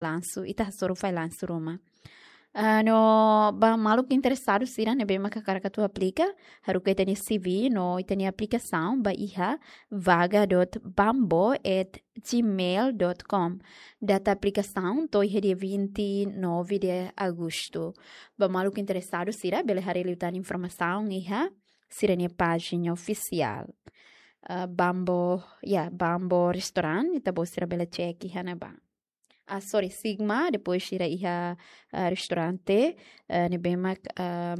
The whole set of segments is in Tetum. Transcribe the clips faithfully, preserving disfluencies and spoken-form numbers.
lansu, ita hasoru fali lansu ruma. Ah, no ba maluk interesadu sira ne'ebé mak hakarak atu aplika, haruka ita-nia C V no ita-nia aplikasaun ba iha vaga dot bambo at gmail dot com. Data aplikasaun to'o iha dia vinte e nove de agosto. Ba maluk interesadu sira bele haree liután informasaun iha sira-nia pájina ofisiál. Ah, Bambo, ya, Bambo Restaurant, ita-boot sira bele cek iha ne'ebá. Ah, sorry, Sigma, depois sira iha, ah, restaurante, ah, ne'ebé mak, ah,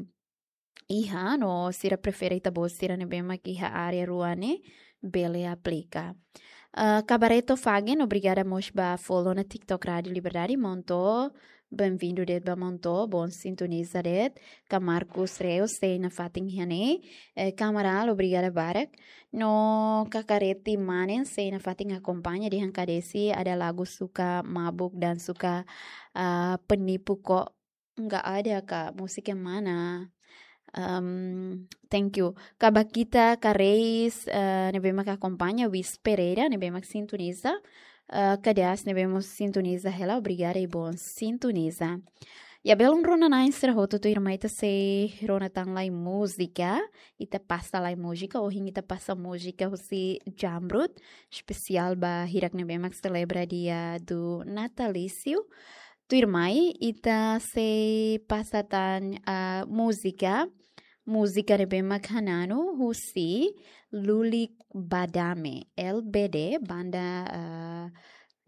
iha, no sira prefere ita-boot sira ne'ebé mak iha área rua ne'e, bele aplika. Ah, Kabareto Fagen, obrigada mós ba follow ona TikTok Rádio Liberdade, Monto, bem-vindo de'it ba Monto, bon sintoniza de'it, ka Marcos Reus, sei nafatin iha ne'e, eh, Kamaral, obrigada barak, no Kakareti Manen, sei nafatin akompaña, dehan Kadesi ada lagu suka mabuk dan suka, ah, penipu kok. Nggak ada, Kak. Música mana? Em, thank you. Ka Bakita Kareis, eh, ne'ebé mak akompaña, Wis Pereira, ne'ebé mak sintoniza. Eh, Kadas, ne'ebé mós sintoniza hela, obrigada i bon sintoniza. Ya, belun rona-na'in sira hotu, tuirmai ita sei rona tan lai múzika, ita pasa lai múzika, ohin ita pasa múzika husi Jamrut, espesiál ba hirak ne'ebé mak selebra dia do natalício. Tuirmai, ita sei pasa tan, ah, múzika, múzika ne'ebé mak hananu husi Lulik Badame, L B D, banda, ah,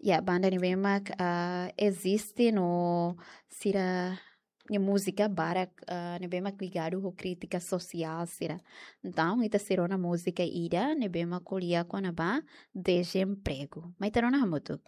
ya, banda ne'ebé mak, ah, eziste no sira-nia múzika barak, ah, ne'ebé mak ligadu ho krítika sosiál sira. Entaun, ita sei rona múzika ida ne'ebé mak ko'alia kona-ba dezempregu. Mai ita rona hamutuk.